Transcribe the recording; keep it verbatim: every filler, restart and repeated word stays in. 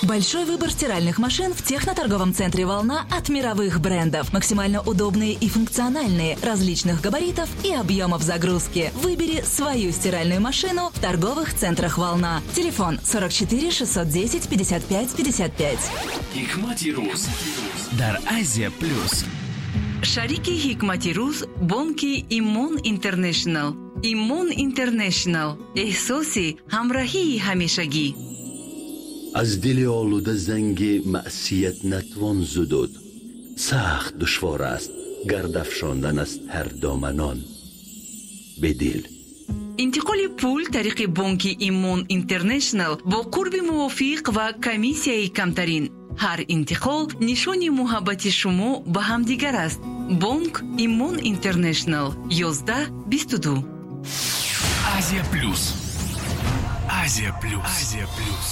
Большой выбор стиральных машин в техноторговом центре «Волна» от мировых брендов. Максимально удобные и функциональные, различных габаритов и объемов загрузки. Выбери свою стиральную машину в торговых центрах «Волна». Телефон сорок четыре шестьсот десять пятьдесят пять пятьдесят пять. Ҳикмати рӯз дар Азия Плюс. Шарики Ҳикмати рӯз бонки Имон Интернешнл. Имон Интернешнл, эҳсоси ҳамраҳии ҳамешагӣ. Аз дили олуда занги маъсият натвон зудуд, сахт душвор аст гардафшондан аз тардоманон бедил. Интиқоли пул тариқи бонки Имон Интернешнл бо қурби мувофиқ ва комиссияи камтарин. Ҳар интиқол нишони муҳаббати шумо ба ҳамдигар аст. Бонк Имон Интернешнл, ёздаҳ бисту ду. Азия Плюс, Азия Плюс, Азия Плюс.